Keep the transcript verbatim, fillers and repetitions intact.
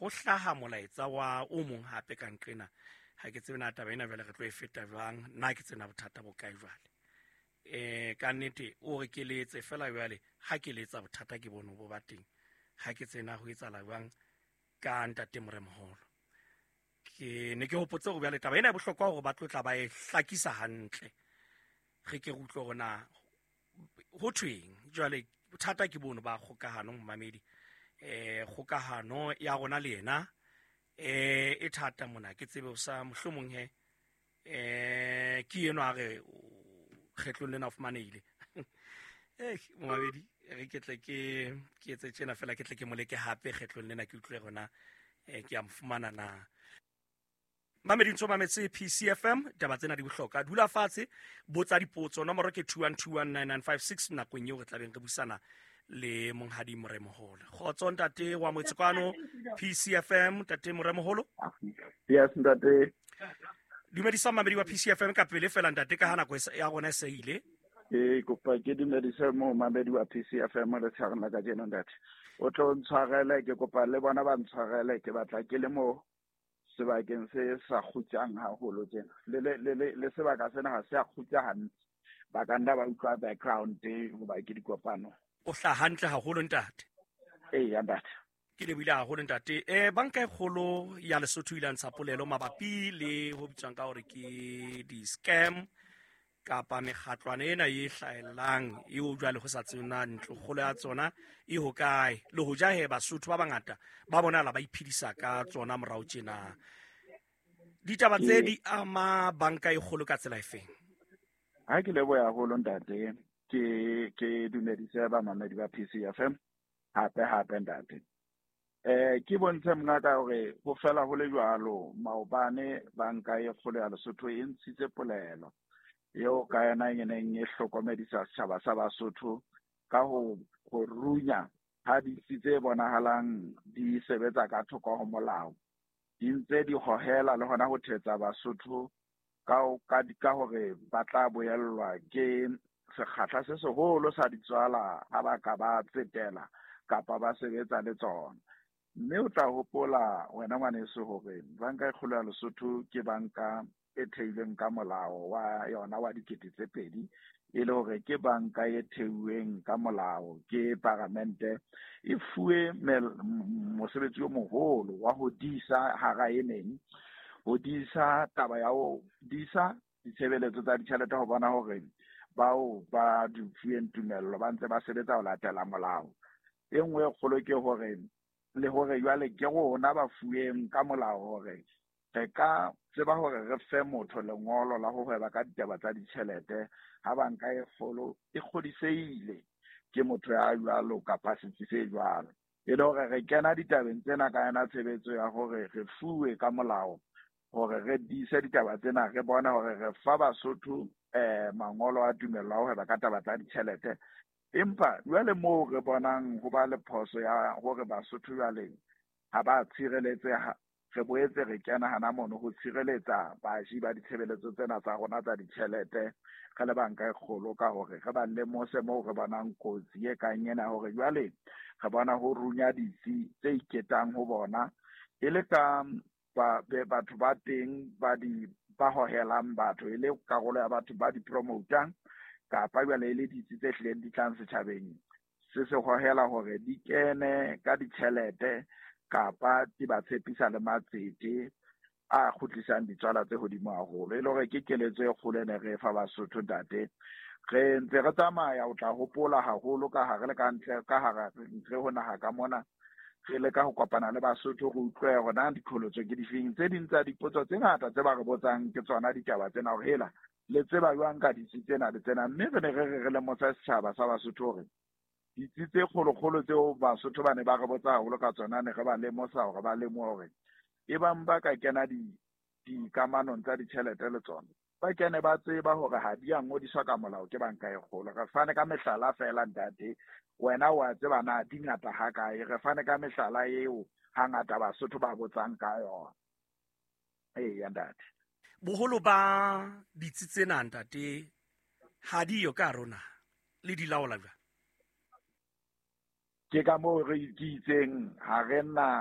Ho hlaha molaetsa wa o mong hape ka nqena. Ha ke tsebe na taba ena jwale re tlo e feta jwang, nna ke tsena bothata bo kae jwale. Eh ka nnete o re ke letse fela jwale ha ke letsa bothata ke bone bo ba teng. Ha ke tsena ho etsahala jwang ka ntate Moremoholo. Ke ne ke hopotse hore jwale taba ena e bohlokwa hore ba tlo tla ba e hlakisa hantle. Re ke re utlwe hore na ho thweng. Jwale bothata ke bono ba kgokahano momamedi. Eh kgokahano ya rona le yena eh e thata mona, ke tsebe o sa mohlomong he eh ke eno a re kgetlong lena o fumanehile. Eh momamedi re ke tle ke ke etse tjena fela, ke tle ke moleke hape kgetlong lena ke utlwe rona eh ke a mo fumana na. Mamedi ntso mametse P C F M, taba tsena di bohlokwa. Dula fatshe, botsa dipotso. Nomoro ke two one two one nine nine five six nakong eo re tlabeng re buisana le monghadi Moremoholo. Kgotso ntate wa motse kwano P C F M, ntate Moremoholo. Yes ntate. Dumedisa mamedi wa P C F M ka pele fela ntate, ka ha nako ya rona e se ile. Ke kopa ke dumedise mo mamedi wa P C F M le tshareng la kajeno ntate. O tlo ntshwarele, ke kopa le bona ba ntshwarele, ke batla ke le mo sebakeng se sa kgutsang haholo tjena. Le le le le sebaka sena ha se a kgutsa hantle. Ba ka nna ba utlwa background hoba ke dikopano. O hla hantle haholo ntate. Ee ntate. Ke lebohile haholo ntate. Eh banka e kgolo ya Lesotho ile ya ntsha polelo mabapi le ho bitswang ka hore ke di-scam kapa mekgatlwana ena e hlahellang eo jwale ho sa tsena ntlo kgolo ya tsona e hokae, le ho ja he Basotho ba bangata ba bonahala ba iphedisa ka tsona morao tjena. Ditaba tse di ama banka e kgolo ka tsela efeng? Ha ke leboha haholo ntate, ke ke dumedise ba mamedi ba P C F M hape hape ntate. Eh ke bontshe mongaka hore ho fela ho le jwalo maobane banka e kgolo ya Lesotho e ntshitse polelo eo ka yona e neng e hlokomedisa setjhaba sa Basotho ka ho ho runya ha ditsi tse bonahalang di sebetsa ka thoko ho molao, di ntse di hohela le hona ho thetsa Basotho ka ka ka hore ba tla boellwa ke sekgahla se seholo sa ditswala ha ba ka ba tsetela kapa ba sebetsa le tsona. Mme o tla hopola wena ngwaneso hore banka e kgolo ya Lesotho ke banka e theilweng ka molao wa yona wa dikete tse pedi, e le hore ke banka e theuweng ka molao ke paramente, e fuwe mosebetsi o moholo wa ho disa hara e meng, ho disa taba ya ho disa ditshebeletso tsa ditjhelete ho bona hore bao ba di fuweng tumello ba ntse ba sebetsa ho latela molao. E nngwe e kgolo ke hore le hore jwale ke rona ba fuweng ka molao hore re ka tseba hore re fe motho lengolo la ho hweba ka ditaba tsa ditjhelete ha banka e kgolo e kgodisehile ke motho ya jwalo kapa setsi se jwalo. E le hore re kena ditabeng tsena ka yona tshebetso ya hore re fuwe ka molao hore re dise ditaba tsena, re bone hore re fa Basotho eh mangolo a tumello a ho hweba ka taba tsa ditjhelete. Empa jwale moo re bonang ho ba le phoso ya hore Basotho jwale ha ba tshireletseha, re boetse re kena hana mono ho tshireletsa baji ba ditshebeletso tsena tsa rona tsa ditjhelete re le banka e kgolo ka hore re ba lemose moo re bonang kotsi e kang ena, hore jwale re bona ho runya ditsi tse iketang ho bona e le ka ba batho ba teng ba di ba hohelang batho, e le karolo ya batho ba di promotang kapa jwale e le ditsi tse hlileng di tlang setjhabeng se se hohela hore di kene ka ditjhelete kapa di ba tshepisa le matsete a kgutlisang ditswala tse hodimo haholo. E le hore ke keletso e kgolo e ne re fa Basotho ntate. Re ntse re tsamaya, o tla hopola haholo ka hare le ka ntle ka hara ntle ho naha ka mona, re leka ho kopana le Basotho re utlwe hore na diqholotso ke difeng. Tse ding tsa dipotso tse ngata tse ba re botsang ke tsona ditaba tsena hore hela le tseba jwang ka ditsi tsena le tsena. Mme re ne re re re lemosa setjhaba sa Basotho hore ditsi tse kgolokgolo tseo Basotho ba ne ba re botsa haholo ka tsona, ne re ba lemosa hore ba lemohe hore e bang ba ka kena dikamanong tsa ditjhelete le tsona, ba kene ba tseba hore ha di a ngodiswa ka molao ke banka e kgolo. Re fane ka mehlala fela ntate, wena wa tseba na di ngata ha kae. Re fane ka mehlala eo hangata Basotho ba botsang ka yona. Eya ntate. Boholo ba ditsi tsena ntate ha di yo ka rona le di laola jwang? Ke ka moo re itseng ha re na